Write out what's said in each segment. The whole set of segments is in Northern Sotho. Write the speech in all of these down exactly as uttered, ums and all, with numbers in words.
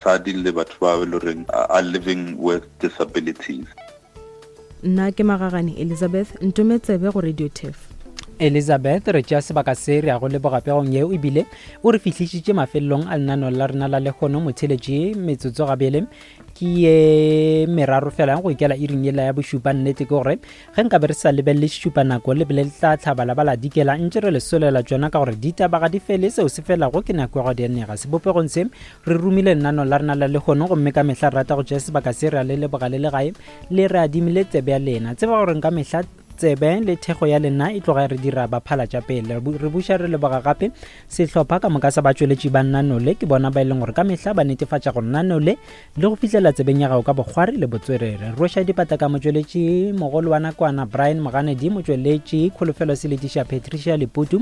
Basadi le batho ba e le horeng are living with disabilities. Nna ke Magagane Elizabeth, ntometsebe go Radio Turf. Elizabeth, re tšea sebaka se re ya go leboga pegong yeo, ebile o re fihlišitše mafelelong a lenaneo la rena la lehono. Motheletše metsotso gabele ke ye meraro fela go ikela iring yela ya bošupa. Nnete ke gore ge nka be re sa lebelele šupa nako le bele le tla tlhaba la ba la dikela, ntše re le solela tšona ka gore ditaba ga di fele, seo se felago ke nako ya go di nega. Sebopegong se re romile lenaneo la rena la lehono, gomme ka mehla re rata go tšea sebaka se re a le leboga le le gae le re adimile tsebe ya lena. Tseba gore ka mehla tsebe le thekgo ya lena e tloga re dira ba phala tša pele. Re buša re leboga gape sehlopha ka moka sa batšweletši ba Nanole, ke bona ba e leng gore ka mehla ba netefatša gore Nanole le go fihlela tsebeng ya gago ka bokgwari le botswerere. Rweša dipata ka motšweletši mogolo wa nakwana Brian Moganedi, motšweletši Kholofelo Seletiša Patricia Leputu,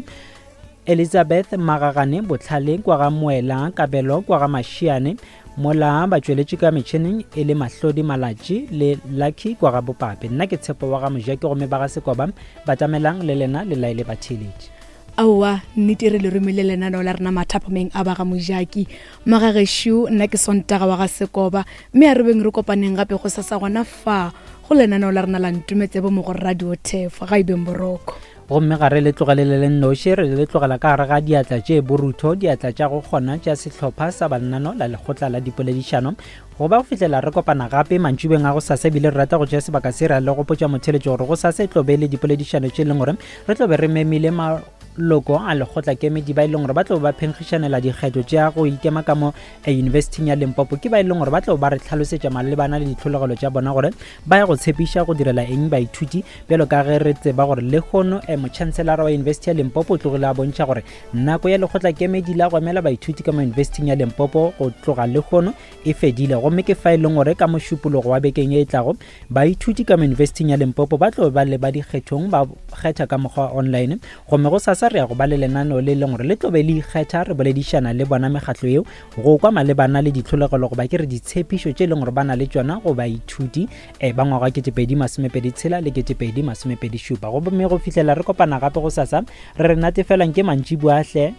Elizabeth Magagane Botlhale kwa ga Moela, Kabelo kwa ga Mašiane, mola batšweletši ka metšhineng e le Mahlodi Malatši le Lucky kwa ga Bopape. Nna ke Tshepo wa ga Mojaki, gomme ba ga Sekoba batamelang le lena le laele batheeletši. Aowa, nnete re le romile lenaneo la rena mathapameng a ba ga Mojaki. Magagešo, nna ke Sontaga wa ga Sekoba, mme a re beng re kopaneng gape go sasa gona fa go lenaneo la rena la Ntometsebo mo go Radio Turf. Ga e beng boroko. Gomme ga re le tlogele le le nnoši, re le tlogela ka gare ga diatla tše borutho, diatla tša go kgona tša sehlopha sa bannano la lekgotla la dipoledišano, go ba go fihlela re kopana gape mantšibeng a go sasa. Ebile re rata go tšea sebaka se ra le gopotša motheletšo gore go sasa e tlo be le dipoledišano tše e leng gore re tlo be re memile maloko a lekgotla kemedi ba e leng gore ba tlo ba phenkgišanela dikgetho tša go ikema ka mo yunibesithing ya Limpopo. Ke ba e leng gore ba tlo ba re tlhalosetša malebana le ditlhologelo tša bona gore ba ya go tshepiša go direla eng baithuti, bjalo ka ge re tseba gore lehono motšhanselara wa yunibesithi ya Limpopo o tlogile a bontšha gore nako ya lekgotla kemedi la go emela baithuti ka mo yunibesithing ya Limpopo go tloga lehono e fedile. Gomme ke fa e leng gore ka mošupologo wa bekeng ye e tlago baithuti ka mo yunibesithing ya Limpopo ba tlo ba le ba dikgethong, ba kgetha ka mokgwa wa online. Gomme go sasa re ya go ba le lenaneo le leng gore le tlo be le ikgetha, re boledišana le bona mekgatlo yeo go kwa malebana le ditlholegelo goba ke re ditshepišo tše e leng gore ba na le tšona go baithuti eh, ba ngwaga ketepedi masomepedi tshela le ketepedi masomepedi šupa. Gomme go fihlela re kopana gape go sasa, re re natefelang ke mantšiboa hle.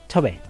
Thobela.